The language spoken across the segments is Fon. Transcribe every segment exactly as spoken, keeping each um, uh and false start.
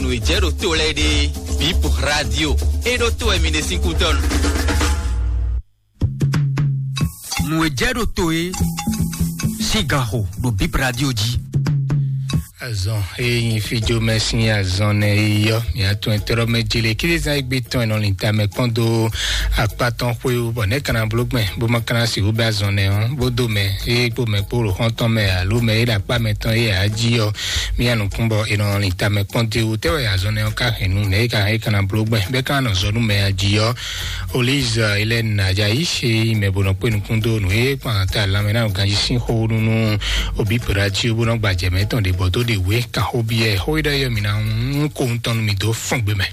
Nǔ e jɛ ɖo to lɛ́ɛ ɖe, Bip Radio. É ɖó to wɛ mi ɖe sín kútɔ́nu. Nǔ e jɛ ɖo to é sín ganxo ɖo Bip Radio jí. Azɔn e nyi fíjomɛ sín azɔn nɛ e yɔ mǐ atún ɛtɔ́ɖɔmɛ jele kíɖezán e gbé tɔn e nɔ lin tamɛ kpɔ́n dó akpá tɔn xwé wú, bɔ nɛ̌ ka ná bló gbɛn bó ma ka ná sixú bɛ́ azɔn nɛ ɔ́, bó dó mɛ e kpó mɛ kpó ɖo xɔ́ntɔn mɛ alo mɛ e ɖo akpá mɛ tɔn e ǎ jí ɔ́, mì ya nukún bɔ è nɔ lin tamɛ kpɔ́n dó wú. Tɛ́ wɛ azɔn nɛ ɔ́ ka hɛn nú nɛ̌ e ka hɛn é ka ná bló gbɛn bɛ́ ka nɔ zɔ nú mɛ a jí ɔ́? Oliz Hélène Ajayi e nyí mɛ bó nɔ kpé nukún dó nǔ e kpan ta lanmɛ ná ganjí sín xó nú nú òbí pɛ́ɖá jí bó nɔ gba jɛ mɛ tɔn ɖě bɔ dó ɖe wě kan xó byɔ́ ɛ. Xó e ɖɔ yɔ mǐ ná hún kó ŋutɔn nú mì dó fɔ́n gbe mɛ.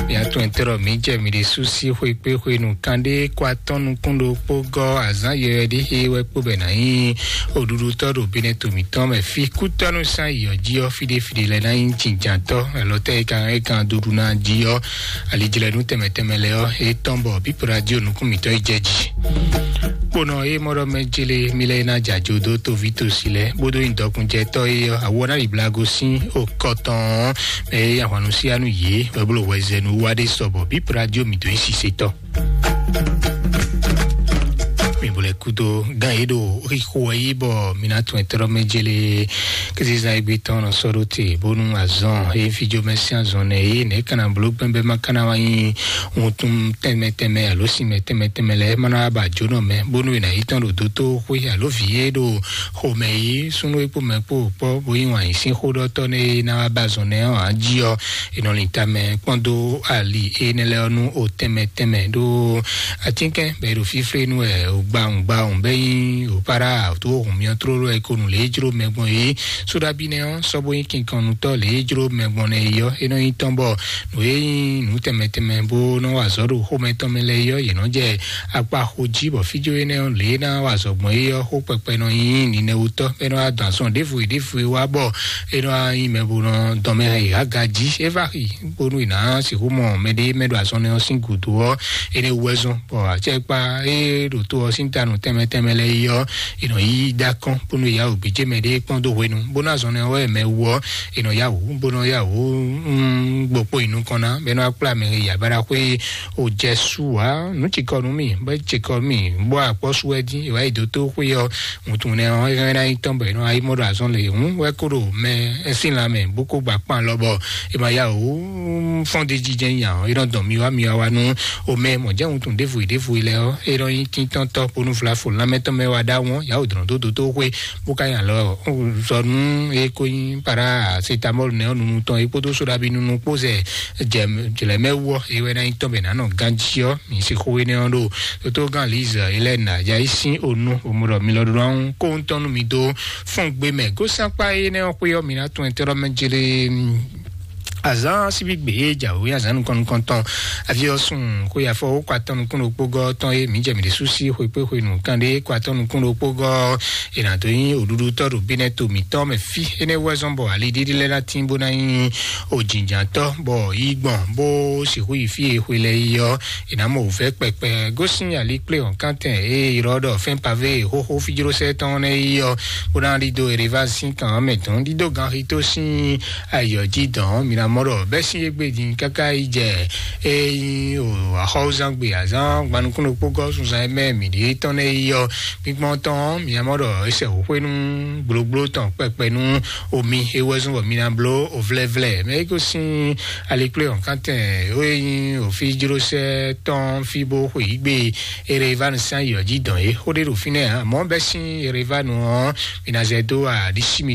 Mǐ atún ɛtɛ́ɖɔ mǐ jɛ mǐ ɖésú sí xwé kpé xwenu kanɖé kó atɔ́ nukún ɖokpó gɔ́ azǎn yɔyɔ ɖé xé wɛ kpó bɛ nǎ nyí oɖuɖutɔ́ ɖo Benɛto mǐtɔn mɛ fí kútɔ́nú sán yɔ̌ jí ɔ́ fíɖéfíɖé lɛ́ɛ ná nyí jǐnjǎntɔ́ alɔtɛ́ e kan e kan duɖu ná jí ɔ́, alijlɛ́nú tɛnmɛ tɛnmɛ lɛ́ɛ ɔ́, é tɔ́n bɔ bípo radio nukún mǐtɔn yi jɛ jí. Kponɔ e mɔ ɖɔ mɛ jele mi lɛ na jajo dó toví tosi lɛ bó dó nyi dɔkunnjɛtɔ́ e ɔ́, awɔ ná yi blago sín okɔ tɔn ɔ́, mɛ e ahwannu sí anu yě wɛ bó ɖo hwɛzɛnu wa ɖé sɔbɔ bípo radio mǐtɔn yi sisetɔ. Mi bo lɛ kudo gan ye ɖo xixo wɛ yi bɔ mi na tún ɛtɔ́ mɛ jele. Kizizan egbe tɔn nɔ sɔ ɖo te bónú azɔn e fíjó mɛ sín azɔn nɛ ye nɛ kana bló gbɛnbɛ ma kana wa nyi wuntun tɛnmɛ tɛnmɛ alo sinmɛ tɛnmɛ tɛnmɛ lɛ ma na ba jónɔ mɛ bónú e na yi tɔn ɖo dótó xwé alo vǐ e ɖo xomɛ yi súnú e kpó mɛ kpó kpɔ bó yi wàn yi sín xó ɖɔtɔ nɛ e na wa ba azɔn nɛ ɔ́ jí ɔ. È nɔ lin tamɛ kpɔ́n dó ali énɛ́ lɛ́ɛ ɔ́ nú o tɛnmɛ tɛnmɛ ɖó atínkɛn bɔ è ɖo fíflé nú wɛ o gbawun gbawun bɛ́ nyí o para tó o hun myɔ tlóló wɛ ko nǔ lě e jló mɛ gbɔn é. Sóɖabi nɛ́ ɔ́ sɔ́ bó nyí kinkɔnnutɔ́ lě e jló mɛ gbɔn nɛ́ é ɔ́, é nɔ nyí tɔn bɔ nǔ e nyí nǔ tɛnmɛ tɛnmɛ bó nɔ wa azɔ̌ ɖo xomɛ tɔn mɛ lɛ́ɛ é ɔ́, yě nɔ jɛ akpa xo jí bɔ fíjó énɛ́ ɔ́ lě e ná wa azɔ̌ gbɔn é ɔ́, xó kpɛkpɛ nɔ nyí ninɛwutɔ́ bɔ é nɔ wá dɔn azɔn ɖěvo e ɖěvo e wá bɔ é nɔ wá nyí mɛ bó nɔ dɔn mɛ hɛn yě aga jí. É vá xi bónú è nǎ sixú mɔ mɛɖé mɛ ɖo azɔn nɛ ɔ́ sín gǔdo ɔ́, énɛ́ wú wɛ zɔ́n bɔ acɛkpá e ɖo to ɔ́ sín tanu tɛnmɛ tɛnmɛ lɛ́ɛ yi ɔ́, è nɔ yí dó akɔ́n bónú è yá wǔ gbéjé mɛɖé kpɔ́n dó hwenu bónú azɔn nɛ ɔ́ wɛ mɛ wú ɔ́, è nɔ yá wǔ bó nɔ yá wǔ gbokpo yi nukɔn ná bɔ é nɔ wá kplá mɛ e yi abáɖaxwé o jɛ su ǎ. Nǔ cikɔ nú mì bɔ é cikɔ mì bó akpɔ́ su wɛ dín è wá yi dó tó xwé ɔ́, wuntun nɛ ɔ́ é hɛn ná nyí tɔn bɔ è nɔ wá yi mɔ ɖo azɔn lě hǔn wɛ kó ɖo mɛ sín lanmɛ bó kó gba kpan lɔ bɔ è ma yá wǔ fɔ́n d'é jí jɛ́n nya ɔ́, é nɔ dɔn mi wá mi wá wá nú omɛ mɔ̌ jɛ́n wuntun ɖěvo yi ɖěvo yi lɛ́ɛ ɔ́, é nɔ nyí tíntɔ́ntɔ́ bónú vlafo lanmɛ tɔn mɛ wá ɖó àwọn yá wǒ dlɔ̌n dó dótó xwé bó ka nya lɔ zɔ nú é kó nyí paracetamɔl nɛ ɔ́ nunu tɔn é kpódó sóɖabi nunu kpó zɛ jlɛ̌ mɛ wú ɔ́, é wɛ ná nyí tɔn bɛ nǎ nɔ ganjí ɔ́, mi si xó énɛ́ ɔ́ ɖo tótógán Liz Hélène Ajayi sín onu omodɔ mi lɔ ɖo ɔ́ kó ŋutɔn nú mi dó fɔ́n gbé mɛ. Gósán kpá énɛ́ ɔ́ xwé ɔ́, mi ná tún ɛtɛ́ ɖɔ mɛ jlé azán síbígbe e jǎwe azán nukɔn nukɔntɔn afi ɔ́ sùn xó yafɔ ó kó atɔ́ nukún ɖokpó gɔ́ tɔn e mǐ jɛ mǐ ɖésú sí xwekpé xwenu kanɖé kó atɔ́ nukún ɖokpó gɔ́ è nǎ dó nyí òɖuɖutɔ́ ɖo bínɛ́ to mǐtɔn mɛ fí. Énɛ́ wú wɛ zɔ́n bɔ ali ɖíɖí lɛ́ɛ ná tín bó ná nyí òjìnjǎntɔ́ bɔ yí gbɔn bó sixú yi fí e xwe lɛ́ɛ yi ɔ́, è nǎ mɔ wǔvɛ́ kpɛkpɛ gosín ali kplé hɔ̌nkántɛn e è ylɔ́ ɖɔ fɛ́n pavé e xóxó fíjlósɛ́ tɔn nɛ́ yi ɔ́, bó ná ɖidó Erevaz sín kan ɔ́ mɛ dɔn ɖidó ganxitó sín ayǐ ɔ́ jí dɔn mǐ ná mɔ ɖɔ bɛ́ sín égbé din káká yi jɛ e nyí o axɔ́wúzán gbe azán gbanukúnukpó gɔ́ sunzan e mɛ mǐ ɖe tɔn nɛ́ yi ɔ́, gbígbɔn tɔn mǐ ná mɔ ɖɔ é sɛ xwé nú gblógbló tɔn kpɛkpɛ nú omi é wɛ zɔ́n bɔ mi ná bló ovlɛvlɛ mɛ é gosín alikplé hɔ̌nkántɛn ó e nyí òfíjlósɛ́ tɔn fí bó xwe yí gbe Erevanu sín ayǐ ɔ́ jí dɔn é. Xó ɖé ɖo fínɛ́ ǎ, mɔ̌ bɛ́ sín Erevanu ɔ́, mi ná zɛ dó aɖisí mitɔn